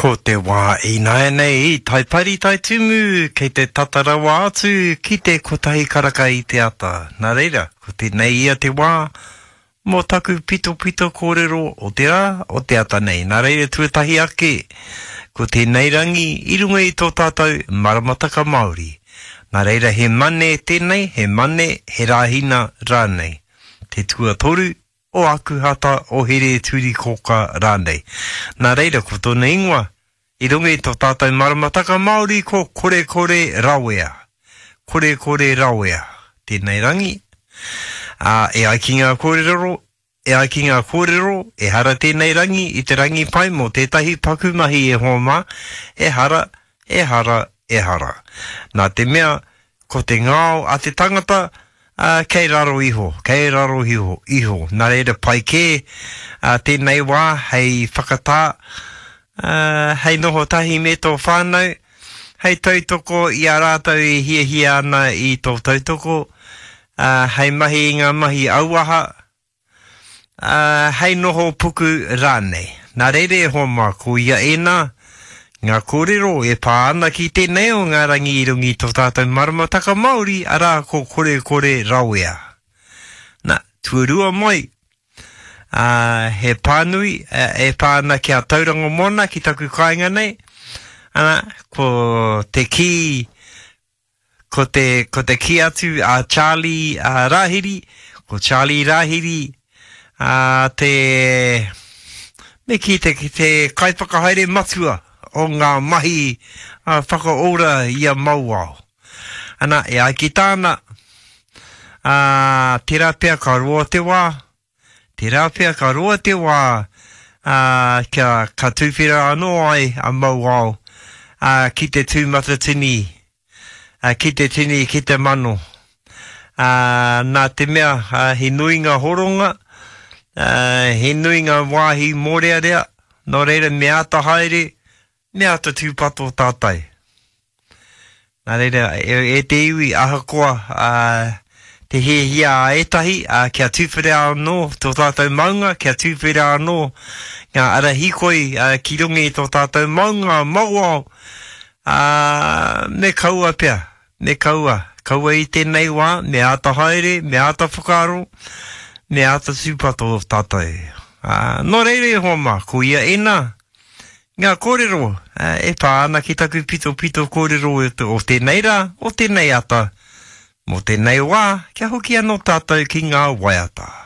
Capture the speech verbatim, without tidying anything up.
Ko te wā ināianei i Taipari Taitumu, kei te tata rawa atu ki te kotahi karaka i te ata. Nā reira, ko tēnei ia te wā mō taku pitopito kōrero o te rā, o te ata nei. Nā reira, tuatahi ake, ko tēnei rangi i runga i tō tātou maramataka Māori. Nā reira, he Mane tēnei, he Mane, he Rāhina rānei. Te tuatoru o Akuhata, o Here-turi-kōka rānei. Nā reira, ko tōna ingoa, i runga i tō tātou maramataka Māori ko Korekore Rawea. Korekore Rawea tēnei rangi. Ā, e ai ki ngā kōrero, e ai ki ngā kōrero, ehara tēnei rangi i te rangi pai mō tētahi paku mahi e hoa mā, ehara, ehara, ehara. Nā te mea, ko te ngao a te tangata, ā, kei raro iho, kei raro iho, iho. Nā reira pai kē ā, tēnei wā hei whakatā, ā, hei noho tahi me tō whānau, hei tautoko i a rātou e hiahia ana i tō tautoko, ā, hei mahi i ngā mahi auaha, ā, hei noho puku rānei. Nā reira e hoa mā, ko ia ēnā, ngā kōrero e pā ana ki tēnei o ngā rangi i runga i tō tātou maramataka Māori, arā, ko Korekore Rawea. Nā, tuarua mai, ā, he pānui e pā ana ki a Tauranga Moana, ki taku kāinga nei, ana, ko te kī, Ko te, ko te kī atu a Charlie a Rāhiri, ko Charlie Rāhiri a te, me kī te, te kaiwhakahaere matua o ngā mahi a whakaora i a Mauao. Ana, e ai ki tāna, a, tērā pea ka roa te wā, tērā pea ka roa te wā a, kia ka tūwhera anō ai a Mauao a, ki te tū matatini ki te tini, ki te mano. Ā, nā te mea, he nui ngā horonga, ā, he nui ngā wāhi mōrearea, nō reira me āta haere, me āta tūpato tātou. Nā reira, e, e te iwi, ahakoa ā, te hiahia a ētahi, ā, kia tuwhera anō tō tātou maunga, kia tuwhera anō ngā ara hīkoi ā, ki runga i tō tātou maunga, Mauao, Ā, me kaua pea, me kaua, kaua i tēnei wā, me āta haere, me āta whakaaro, me āta tūpato tātou. Ā, nō reira e hoa mā, ko ia ēnā, ngā kōrero e pā ana ki taku pitopito kōrero o tēnei rā, o tēnei ata, mō tēnei wā, kia hoki anō tātou ki ngā waiata.